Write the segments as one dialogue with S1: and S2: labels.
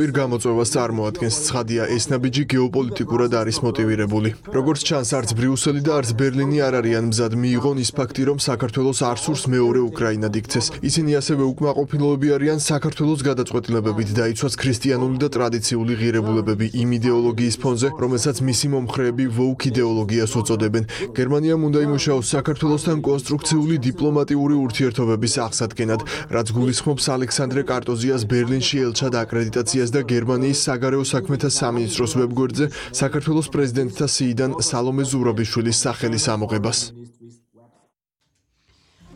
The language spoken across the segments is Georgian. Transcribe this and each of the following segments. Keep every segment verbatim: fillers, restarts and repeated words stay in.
S1: Ir გამოწვევას წარმოადგენს ცხადია, ეს ნაბიჯი გეოპოლიტიკურად არის მოტივირებული. Როგორც ჩანს, არც ბრიუსელი და არც ბერლინი არ არიან მზად მიიღონ ის ფაქტი, რომ საქართველოს არ სურს მეორე უკრაინად იქცეს. ისინი ასევე უკმაყოფილოები არიან საქართველოს გადაწყვეტილებებით დაიცვას ქრისტიანული და ტრადიციული ღირებულებები იმ იდეოლოგიის ფონზე, რომელსაც მისი მომხრეები ვოუკ იდეოლოგიას უწოდებენ. გერმანიამ უნდა იმუშაოს საქართველოსთან კონსტრუქციული დიპლომატიური ურთიერთობების აღსადგენად, რაც გულისხმობს ალექსანდრე კარტოზიას ბერლინში ელჩად აკრედიტაციას და გერმანიის საგარეო საქმეთა სამინისტროს ვებგვერდზე საქართველოს პრეზიდენტთა სიიდან სალომე ზურაბიშვილის სახელის ამოღებას.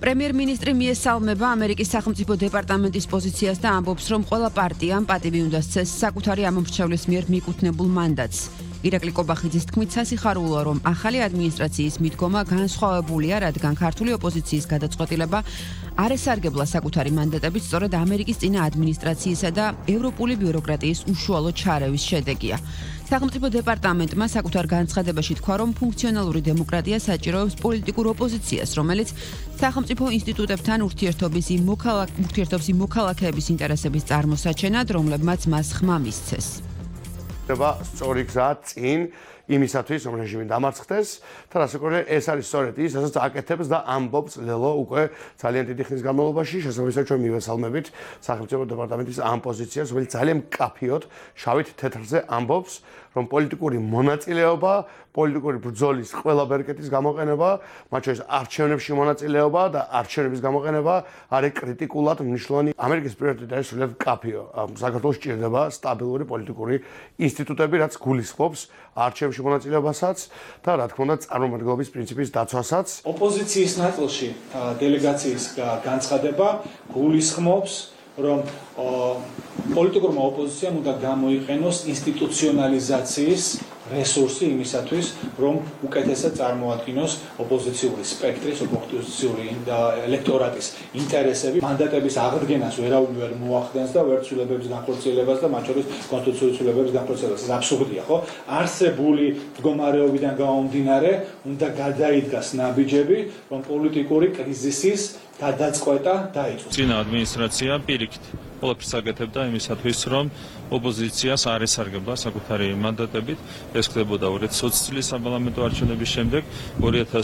S2: პრემიერ-მინისტრი მიესალმება ამერიკის სახელმწიფო დეპარტამენტის პოზიციას და ამბობს, რომ ყველა პარტიამ პატივი უნდა სცეს საკუთარი ამომრჩევლის მიერ მიკუთვნებულ მანდატს. ირაკლი კობახიძის თქმით, სასიხარულოა, რომ ახალი ადმინისტრაციის მიდგომა განსხვავებულია, რადგან ქართული ოპოზიციის გადაწყვეტილება არ ესარგებლა საკუთარი მანდატებით, სწორედ ამერიკის წინა ადმინისტრაციისა და ევროპული ბიუროკრატიის უშუალო ჩარევის შედეგია. სახელმწიფო დეპარტამენტმა საკუთარ განცხადებაში თქვა, რომ ფუნქციონალური დემოკრატია საჭიროებს პოლიტიკურ ოპოზიციას, რომელიც სახელმწიფო ინსტიტუტებთან ურთიერთობის იმ ურთიერთობის იმ მოქალაქეების ინტერესების წარმოსაჩენად, რომლებმაც მას ხმა მისცეს.
S3: სწორი გზა წინ იმისათვის, რომ რეჟიმი დამარცხდეს და რასაკვირველია, ეს არის სწორედ ის, რასაც აკეთებს და ამბობს ლელო უკვე ძალიან დიდი ხნის განმავლობაში, შესაბამისად ჩვენ მივესალმებით სახელმწიფო დეპარტამენტის ამ პოზიციას, რომელიც ძალიან მკაფიოდ შავით თეთრზე ამბობს, რომ პოლიტიკური მონაწილეობა, პოლიტიკური ბრძოლის ყველა ბერკეტის გამოყენება, მათ შორის არჩევნებში მონაწილეობა და არჩევნების გამოყენება არის კრიტიკულად მნიშვნელოვანი. ამერიკის პრიორიტეტი არის სრულიად მკაფიო. საქართველოს სჭირდება სტაბილური პოლიტიკური ინსტიტუტები, რაც გულისხმობს არჩევნებში მონაწილეობასაც და რა თქმა უნდა წარმომადგენლობის პრინციპის დაცვასაც.
S4: ოპოზიციის ნაწილში დელეგაციის განცხადება გულისხმობს, რომ პოლიტიკურმა ოპოზიციამ უნდა გამოიყენოს ინსტიტუციონალიზაციის რესურსი იმისათვის, რომ უკეთესად წარმოადგინოს ოპოზიციური სპექტრის, ოპოზიციური ელექტორატის ინტერესები, მანდატების აღდგენას ვერავინ ვერ მოახდენს და ვერ ცვლილებების განხორციელებას და მათ შორის კონსტიტუციური ცვლილებების განხორციელებას. ეს აბსურდია, ხო? არსებული მდგომარეობიდან გამომდინარე, უნდა გადაიდგას ნაბიჯები, რომ პოლიტიკური კრიზისის გადაწყვეტა დაიწყოს.
S5: წინა ადმინისტრაცია პირიქით ყველაფერს აკეთებდა იმისათვის, რომ ოპოზიციას არ ესარგებლა საკუთარი მანდატებით. ეს ხდებოდა ორი ათი ოცი წლის საპარლამენტო არჩევნების შემდეგ, ორი ათი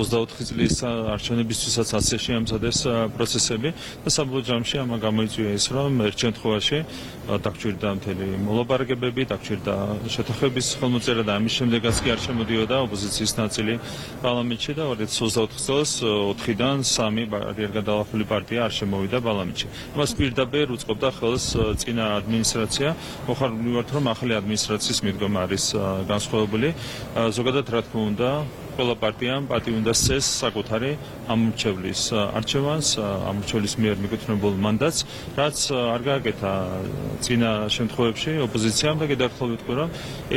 S5: ოცდაოთხი წლის არჩევნებისთვისაც ასე შეამზადეს პროცესები და საბოლოო ჯამში ამან გამოიწვია ის, რომ ერთ შემთხვევაში დაგჭირდა მთელი მოლაპარაკებები, დაგჭირდა შეთანხმების ხელმოწერა და ამის შემდეგაც კი არ შემოდიოდა ოპოზიციის ნაწილი პარლამენტში და ორი ათი ოცდაოთხი წელს ოთხიდან სამი ერგადალახული პარტია არ შემოვიდა პარლამენტში. მას პირდაპირ უწყობდა ხელს წინა ადმინისტრაცია. მოხარული ვართ, რომ ახალი ადმინისტრაციის მიდგომა არის განსხვავებული. ზოგადად, რა თქმა უნდა, ყველა პარტიამ პატივი უნდა სცეს საკუთარი ამორჩევლის არჩევანს, ამორჩევლის მიერ მიკუთვნებულ მანდატს, რაც არ გააკეთა წინა შემთხვევებში ოპოზიციამ და კიდევ ერთხელ ვიტყვი, რომ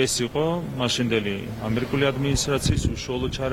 S5: ეს იყო მაშინდელი ამერიკული ადმინისტრაციის უშუალო ჩარევა.